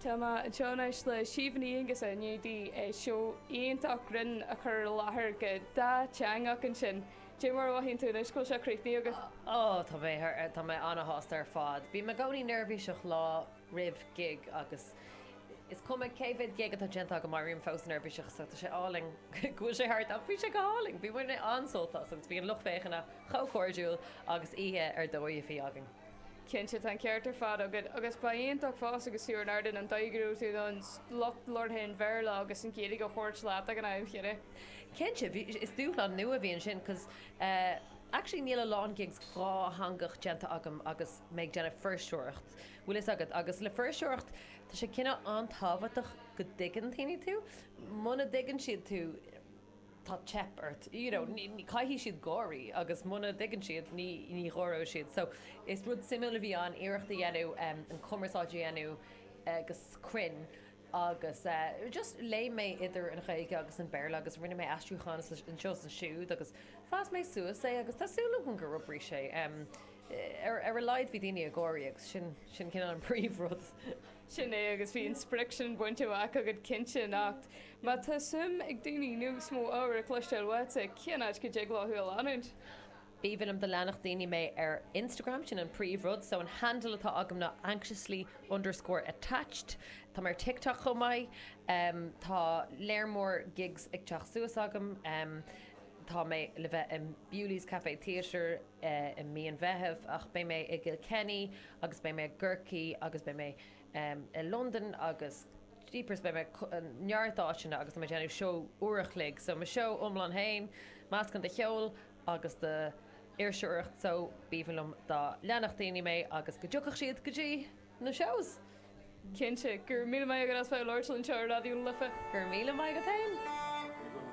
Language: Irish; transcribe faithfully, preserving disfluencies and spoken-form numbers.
Tá mé anseo anois le Síomha Ní Aonghusa i ndiaidh di seó iontach grinn a chur i láthair go dátheangach ansin. Cé mar a mhothaíonn tú anois go bhfuil sé críochnaithe agat? Ó tá mé tá mé an-shásta ar fad. Bím i gcónaí neirbhíseach lá roimh gig agus is cuma cé mhéad gig atá déanta agam bím fós neirbhíseach so tá sé álainn go bhfuil sé thart ach bhí sé go hálainn, bhí muid an-sult as agus bhí an lucht féachana chomh cairdiúil agus oíche ar dóigh a bhí againn. Cinnte tá an ceart ar fad agat agus ba iontach fós agus tú ar an ardán an dóigh go raibh tú an lucht labhartha an Bhéarla agus an Ghaeilge a thabhairt leat ag an am chéanna. Cinnte is dúshlán nua a bhí ansin cos uh, actually níl a lán gigs dátheangach déanta agam agus mé ag déanamh fuirseoireacht. Bhfuil fhios agat agus le fuirseoireacht tá sé cineál an-tábhachtach go dtuigeann daoine tú, Muna dtuigeann siad tú tá teip ort you know, caithfidh siad gáirí agus muna dtuigeann siad ní ní gháireoidh siad. So is rud suimiúil a bhí ann iarracht a dhéanamh um, an cumarsáid a dhéanamh agus cruinn agus uh, just léim mé idir an Ghaeilge agus an Béarla agus rinne mé aistriúchán anseo ansiúd agus phas mé suas é agus tá súil agam gur oibrigh sé. Um, ar ar a laghad bhí daoine ag gáirí agus sin sin cineál an príomhrud. Sin é agus bhí an sprioc sin bainte amach agat cinnte nach. Má tá suim ag daoine níos mó ábhar a chloisteáil uait cén áit go dtig leo thú a leanúint. B'aoibhinn liom dá leanfadh daoine mé ar Instagram sin an príomhrud, so an handle atá agam ná anxiously underscore attached. Tá ar TikTok chomh maith, um, tá léar mór gigs ag teacht suas agam, um, tá mé le bheith in Bewley's Café Theatre uh, i mí an Mheithimh ach beidh mé i Kilkenny agus beidh mé i gCorcaigh agus beidh mé um, i London agus Jeepers beidh mé neart áiteanna agus mé déanamh seó uair a chloig, so mo seó iomlán féin, meascán de cheol agus de fhuirseoireacht so b'aoibhinn liom dá leanfadh daoine mé agus go dtiocfadh siad go dtí na shows. Cinnte gur míle maith agat as bheith ag labhairt anseo ar Raidió na Life. Gur míle maith agat féin.